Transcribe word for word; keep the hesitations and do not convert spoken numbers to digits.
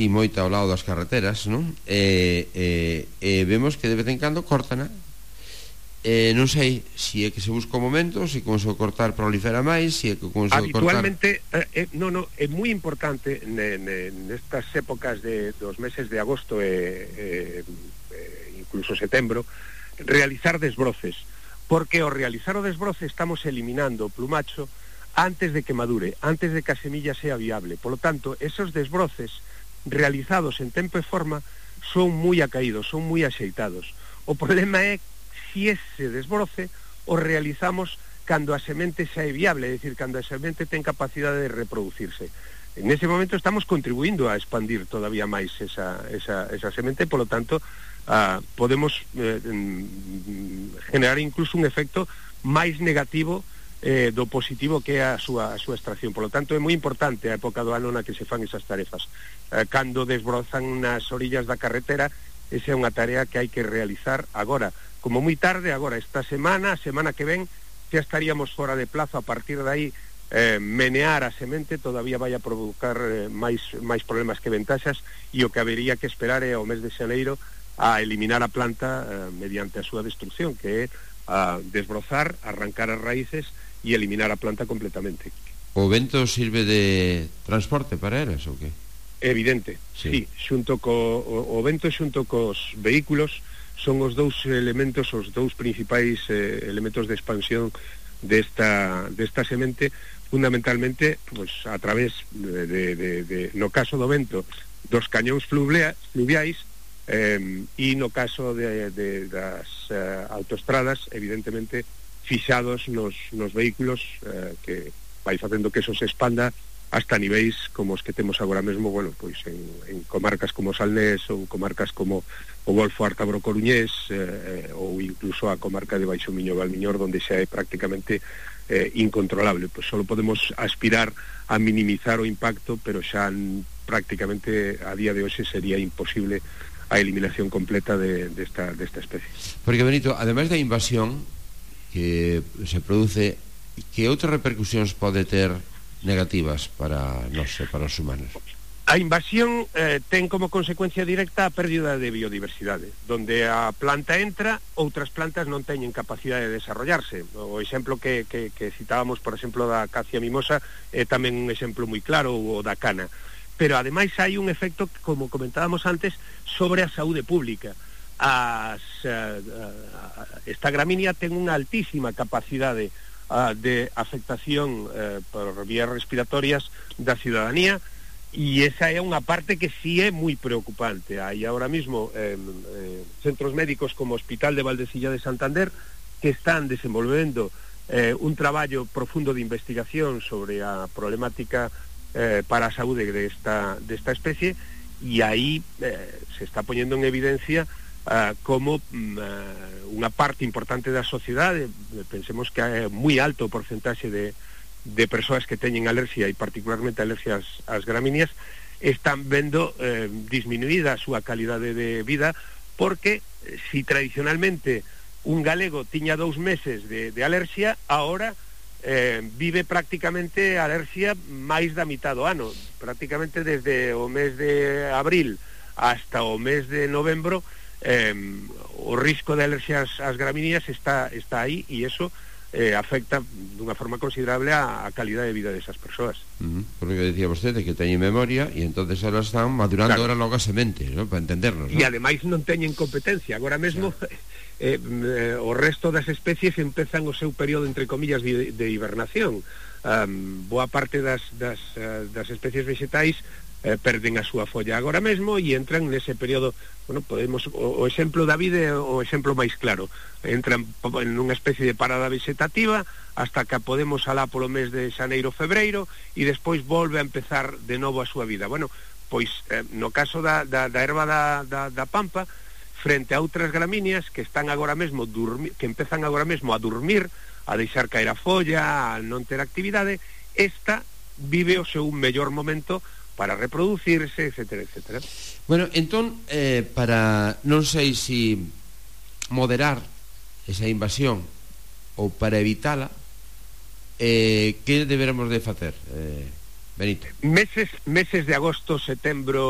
así moita ao lado das carreteras, non? E, e, e vemos que de vez en cando cortana. Eh, non sei se é que se busca o momento, se con so cortar prolifera máis, se é que con so habitualmente cortar... eh, no, no, é moi importante ne, ne, nestas épocas de, dos meses de agosto e, e, e incluso setembro realizar desbroces, porque ao realizar o desbroce estamos eliminando o plumacho antes de que madure, antes de que a semilla sea viable. Por lo tanto, esos desbroces realizados en tempo e forma son moi acaídos, son moi axeitados. O problema é si ese desbroce o realizamos cando a semente xa é viable, é dicir, cando a semente ten capacidade de reproducirse. En ese momento estamos contribuindo a expandir todavía máis esa, esa, esa semente, por lo tanto, uh, podemos eh, generar incluso un efecto máis negativo Eh, do positivo que é a súa, a súa extracción. Por lo tanto, é moi importante a época do ano na que se fan esas tarefas. Eh, cando desbrozan nas orillas da carretera, esa é unha tarea que hai que realizar agora, como moi tarde, agora, esta semana, a semana que ven, xa estaríamos fora de plazo. A partir de aí, eh, menear a semente todavía vai a provocar eh, máis, máis problemas que ventaxas, e o que habería que esperar é ao mes de xaneiro a eliminar a planta eh, mediante a súa destrucción, que é a desbrozar, arrancar as raíces e eliminar a planta completamente. O vento sirve de transporte para elas ou que? Evidente, sí, sí, xunto co o, o vento xunto cos vehículos son os dous elementos, os dous principais eh, elementos de expansión desta desta semente, fundamentalmente pues a través de, de, de, de no caso do vento, dos cañóns fluvia, fluviais eh, e no caso de, de das eh, autoestradas, evidentemente fixados nos, nos vehículos, eh, que vai facendo que eso se expanda hasta niveis como os que temos agora mesmo, bueno, pois en, en comarcas como Salnés ou comarcas como o Golfo Ártabro Coruñés, eh, ou incluso a comarca de Baixo Miño Valmiñor, donde xa é prácticamente eh, incontrolable. Pois solo podemos aspirar a minimizar o impacto, pero xa prácticamente a día de hoxe sería imposible a eliminación completa de, de, esta, de esta especie. Porque, Benito, ademais da invasión que se produce, que outras repercusións pode ter negativas para nós e para os humanos? A invasión eh, ten como consecuencia directa a pérdida de biodiversidade. Donde a planta entra, outras plantas non teñen capacidade de desarrollarse. O exemplo que, que, que citábamos, por exemplo, da acacia mimosa, é tamén un exemplo moi claro, o da cana. Pero ademais hai un efecto, como comentábamos antes, sobre a saúde pública. As, uh, uh, esta gramínea ten unha altísima capacidade uh, de afectación uh, por vías respiratorias da ciudadanía, e esa é unha parte que sí é moi preocupante. Hai ahora mismo eh, eh, centros médicos como o Hospital de Valdecilla de Santander que están desenvolvendo eh, un traballo profundo de investigación sobre a problemática eh, para a saúde desta, desta especie, e aí eh, se está poñendo en evidencia Uh, como uh, unha parte importante da sociedade, pensemos que é moi alto o porcentaxe de, de persoas que teñen alerxia, e particularmente alerxias ás gramíneas, están vendo eh, disminuída a súa calidade de vida, porque si tradicionalmente un galego tiña dous meses de, de alerxia, ahora eh, vive prácticamente alerxia máis da mitad do ano, prácticamente desde o mes de abril hasta o mes de novembro. Eh, o risco de alerxias ás gramíneas está, está aí, e eso eh, afecta dunha forma considerable a, a calidade de vida desas persoas. Uh -huh. Porque decía vostede que teñen memoria, e entonces elas están madurando, claro, ahora logo a semente, ¿no? Para entendernos, ¿no? E ademais non teñen competencia. Agora mesmo, claro, eh, eh, o resto das especies empezan o seu período, entre comillas, de, de hibernación. Um, boa parte das, das, uh, das especies vegetais Eh, perden a súa folla agora mesmo e entran nese período. Bueno, podemos, o, o exemplo da vida é o exemplo máis claro. Entran en unha especie de parada vegetativa hasta que podemos alá polo mes de xaneiro, febreiro, e despois volve a empezar de novo a súa vida. Bueno, pois eh, no caso da, da, da erva da, da, da pampa, frente a outras gramíneas que están agora mesmo durmi, que empezan agora mesmo a dormir, a deixar caer a folla, a non ter actividade, esta vive o seu mellor momento para reproducirse, etcétera, etcétera. Bueno, entón, eh, para, non sei se moderar esa invasión ou para evitala, eh, que deberemos de facer, eh, Benito? Meses, meses de agosto, setembro